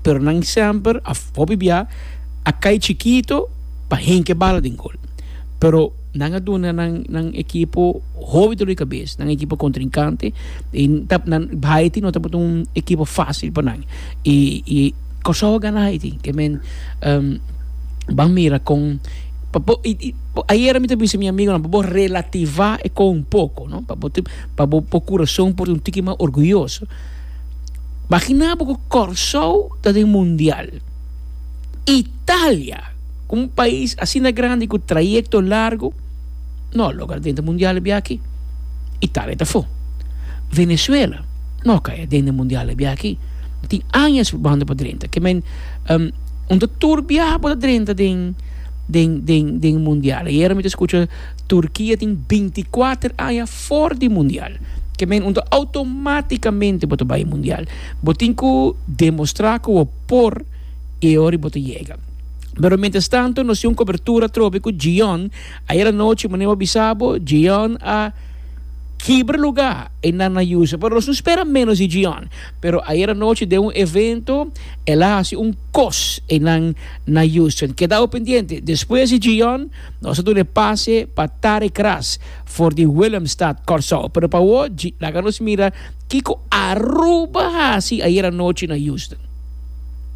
Pero nan semper a hopi bia a kai chikito pa hinka e bala den gol. Pero nan a duna nan nan ekipo hopi dolor di kabes, nan ekipo kontrinkante i ta nan Haiti no tabata un ekipo fásil pa nan. I i Kòrsou a gana Haiti ke men ban mira kon pa bo i i ayera mi ta bisa mi amigonan pa bo relativá e kon un poko no pa bo pa bo kurason por ta un tiki mas orguyoso. Magina bo ku Kòrsou ta den mundial. Italia, ku un pais asina grandi ku trayekto largu, no a logra drenta mundial e bia aki. Italia ta afó. Venezuela no a kai aden den mundial e bia aki. Tin añas probando pa drenta. Ke men, un ta tur biaha bo ta drenta den den den den mundial. Ayera mi ta skucha Turkia tin binti kuater aña for di mundial. Ke men un ta automaticamente bo ta bai mundial. Bo tin ku demostra ku bo por i e ora bo ta yega. Pero mientras tanto nos tin un cobertura atrobe ku Gion. Ayer anochi manera bo a bisa bo, Gion a kibra luga einan na Houston. Pero nos no spera menos di Gion. Pero ayer anochi den un evento el a hasi un kos einan na Houston. Keda bo pendiente. Despues di Gion nos a duna e pase pa Tarek Ras. For di Willemstad, Kòrsou. Pero pa awor, laga nos mira kiko Aruba hasi ayera nochi na Houston.